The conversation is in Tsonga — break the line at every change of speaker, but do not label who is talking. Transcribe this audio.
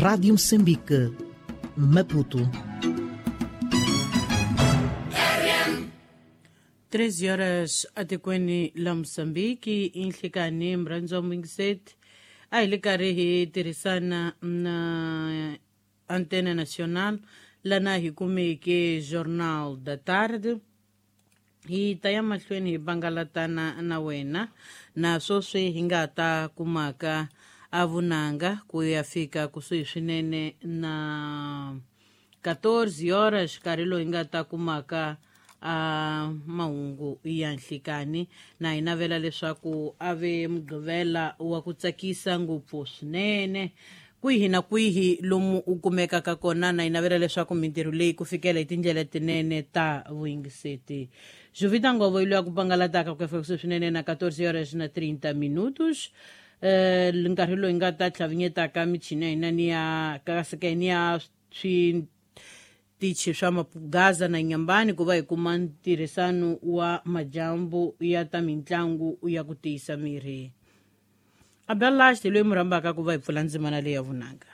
Rádio Moçambique, Maputo.
13 horas atikweni la Mozambique inhlikani mrhandzi wa muyingiseti a hi le karhi hi tirhisana na Antena Nacional lana hi kumeke Jornal da Tarde. Hi ta ya mahlweni hi bangalatana na wena na sweswi hi nga ta kumaka a vunanga ku ya fika kusuhi swinene na 14 horas, nkarhi lowu hi nga ta kumaka a mahungu ya nhlikani. Na hi navela leswaku a ve Mugqivela wa ku tsakisa ngopfu swinene kwihi na kwihi lomu u kumekaka kona. Na hi navela leswaku mintirho leyi ku fikela hi tindlela tinene ta vuyingiseti. Jovita Ngovo yi loyi a ku pangalataka ku ya fika kusuhi swinene na 14 horas na 30 minutos, nkarhi lowu hi nga ta tlhavinyetaka michini ya hina ni ya kaseka ni ya switichi swa Mapugaza na Nyambani ku va hi kuma ntirhisano wa madyambu ya ta mitlangu ya ku tiyisa miri. Abdallah loyi mu rhambaka ku va hi pfula ndzimana leyi ya vunanga.